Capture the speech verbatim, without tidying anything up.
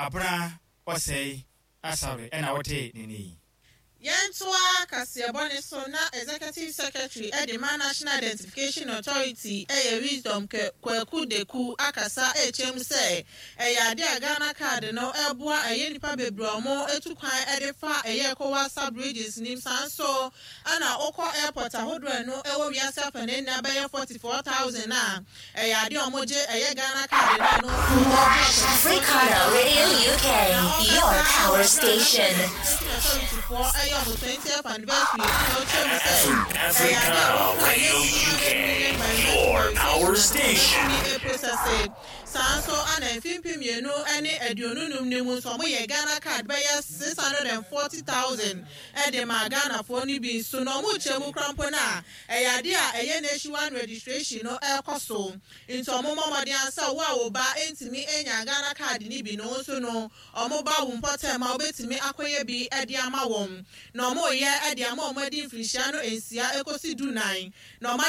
Abena Ɔsɛe Asare ɛna wɔte ne ne yi. Yɛntoa kaseɛbɔ ne so na Executive Secretary ɛde ma National Identification Authority, ɛyɛ Wisdom Kwaku Deku, akasa ɛkyɛm sɛ ɛyɛ ade a Ghana Card no ɛboa ɛyɛ nipa bebree a ɔmo etu kwan ɛde fa ɛyɛ ECOWAS sub-regions nim. Saa nso ɛna wokɔ airport ahodoɔ no ɛwɔ wiase afa ne nna bɛyɛ forty four thousand a ɛyɛ ade a ɔmo gye ɛyɛ Ghana Card no ɛno. Africana Radio U K, your power station. Authority ɛyɛ ɔmo twentieth anniversary ɛna ɔkyerɛ mu sɛ Africana Radio U K, your power station. Process saa nso ana mfimfin mmienu ne aduonu num ne mu nso, ɔmo yɛ Ghana Card bɛyɛ six hundred and forty thousand ɛde ma Ghanafoɔ no bi nso, na ɔmo kyerɛ mu kora mpo no a ɛyɛ ade a ɛyɛ nationwide registration no ɛrekɔ so, nti ɔmo mmɔ mmɔden asa wo a wo ba ntumi nya Ghana Card ne bi no nso no, ɔmo ba wo mpɔtɛm a wobɛtumi akɔyɛ bi ɛde ama wɔn, na ɔmo yɛ ɛde ama ɔmo adi mfirinhyia no nsia ekosi du nan na ɔmo